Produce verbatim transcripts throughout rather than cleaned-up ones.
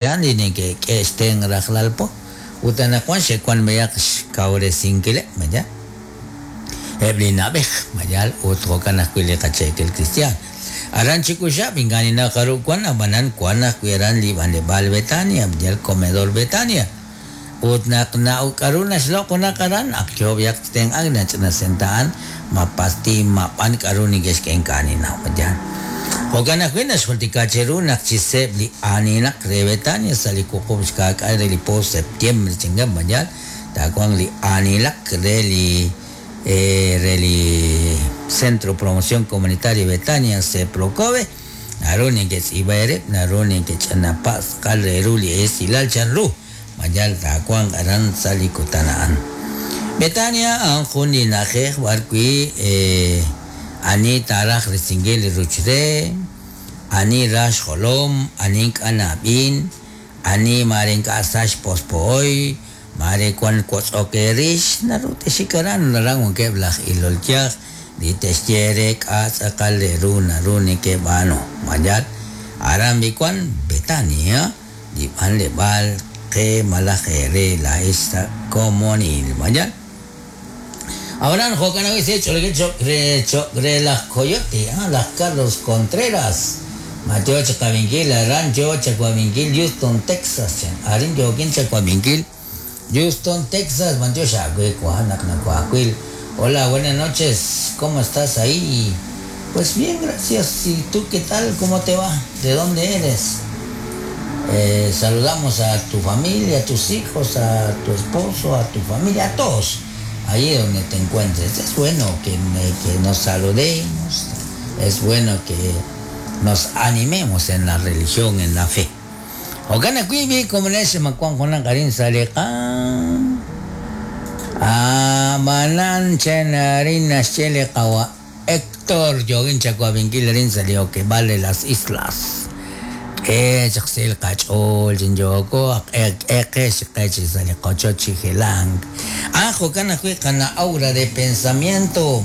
Li neke'k'e'xten rajlal po ut anaqwan xe'wan b'ayaq xkawresinkileb' mayal eb' li na'b'ej mayal ut jo'kan ajwi' li qacheekil cristian aran Chikuxab' ink'a' ninaq jarub' wan ab'anan wan ajwi' aran li b'anleb'aal Betania yal comedor Betania ut naq na k'aru naxloq' junaq aran ak yo b'ayaq xtenq'ank nach'ina senta'an ma pastil ma b'an k'aru neke'xk'e ink'a' ninnaw mayal. Jo'kan ajwi' naxjultika cheru naq chi seeb' li aanilaq re Betania sa' li wuqub' xka'k'aal re li po septiembre chingan mayal taawanq li aanilaq re li re li Centro Promoción Comunitaria Betania Ceprocobe naru neke'tz'iib'a eerib' naru neke'ch'anapa' tz'aqal re ru li esilal chanru mayal taawanq aran sa' li kutan a'an. Betania a'an jun li na'ajej b'arwi' ani taaraj risinkil li ruch re, ani rax xjolom, ani ink'a' nab'in, ani mare ink'a' sa xpospo'oy, mare wan wotz'ok eerix, naru texik aran aran wankeb' laj ilol yaj li te'xye re k'a' tz'aqal re ru naru neke'b'aanu mayal aran b'i wan Betania li b'anleb'aal qe malaj eere laa'ex sa' komonil mayal. Ahora jo'kan ajwi' se ch'olokil choq' re choq' re laj Coyote, ah, laj Carlos Contreras. Mateo chakawinkil aran yo chakawinkil Houston, Texas. Arin yokin chakawinkil Houston, Texas. Mateo xawe kuanak nakuakwil. Hola, buenas noches. ¿Cómo estás ahí? Pues bien, gracias. ¿Y tú qué tal? ¿Cómo te va? ¿De dónde eres? Eh, saludamos a tu familia, a tus hijos, a tu esposo, a tu familia, a todos. Ahí donde te encuentres. Es bueno que, que nos saludemos, es bueno que nos animemos en la religión, en la fe. Jo'kan ajwi' bi como ese makuan jonan karin saliqa amanan chenarin naxchele qawa Héctor yogin chakuabinkil rin salió que vale las islas. Eh, chaqsil qach'ol chinyoko eqex qechi sali qochochi gelang. Ah, jo'kan ajwi' qana aura de pensamiento.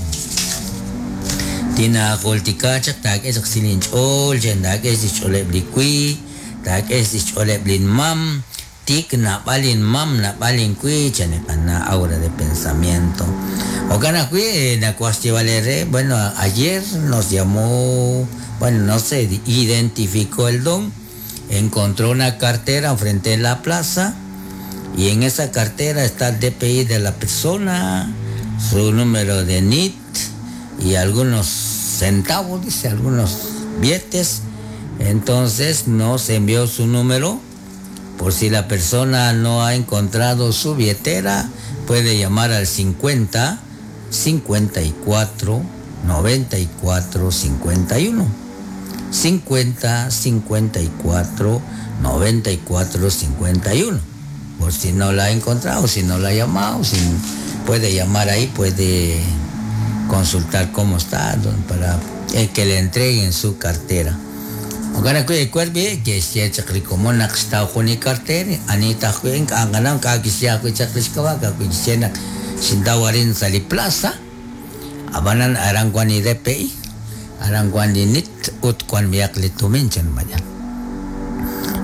Tina jultika chaq taak'e chaqsil inch'ool chen taak'e xch'ooleb' li kwi, taak'e xch'ooleb' lin mam, tik nab'al inmam nab'al inkwi chen qana aura de pensamiento. Jo'kan ajwi' nakuaj xyeeb'al bueno, ayer nos llamó, bueno, no se identificó el don, encontró una cartera enfrente de la plaza y en esa cartera está el D P I de la persona, su número de N I T y algunos centavos, dice, algunos billetes. Entonces nos envió su número por si la persona no ha encontrado su billetera, puede llamar al cincuenta, cincuenta y cuatro, noventa y cuatro, cincuenta y uno. cincuenta, cincuenta y cuatro, noventa y cuatro, cincuenta y uno. Por si no la ha encontrado, si no la ha llamado, si puede llamar ahí, puede consultar cómo está, don, para que le entreguen su cartera. Ojalá que el cuerpo que se echa como una está con el cartera, anita juega, anganam, que se ha hecho que se sin dawarin sali plaza, abanan aranguani D P I, aranguani nit ut kuan biak lituminchan mayan.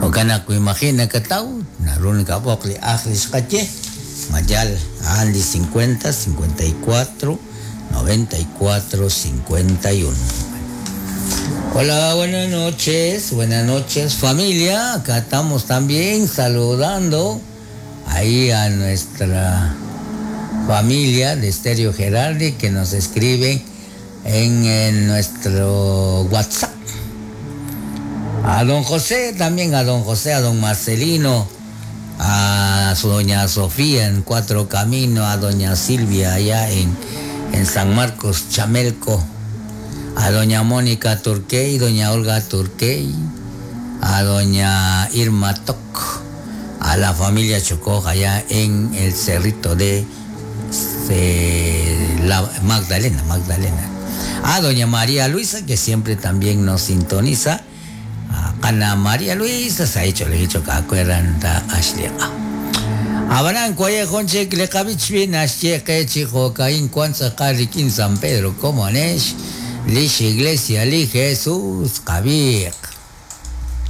Ojalá que imagina que tau, narun kabok li akhlis kache, mayal andi cincuenta, cincuenta y cuatro, noventa y cuatro, cincuenta y uno. Hola, buenas noches, buenas noches familia, acá estamos también saludando ahí a nuestra familia de Estéreo Gerardi que nos escribe en, en nuestro WhatsApp. A don José, también a don José, a don Marcelino, a su doña Sofía en Cuatro Caminos, a doña Silvia allá en, en San Marcos, Chamelco, a doña Mónica Turquey, doña Olga Turquey, a doña Irma Toc, a la familia Chocó allá en el cerrito de, de la Magdalena, Magdalena. A doña María Luisa, que siempre también nos sintoniza. A Ana María Luisa, se ha hecho, le he dicho que acuerdan da Ashliqa. Abraham Cuaye Jonche, Clecavich, bien, Ashieque, Chijo, Caín, Cuanza, Carriquín, San Pedro, como Anesh, Lish Iglesia, Li Jesús, Javier.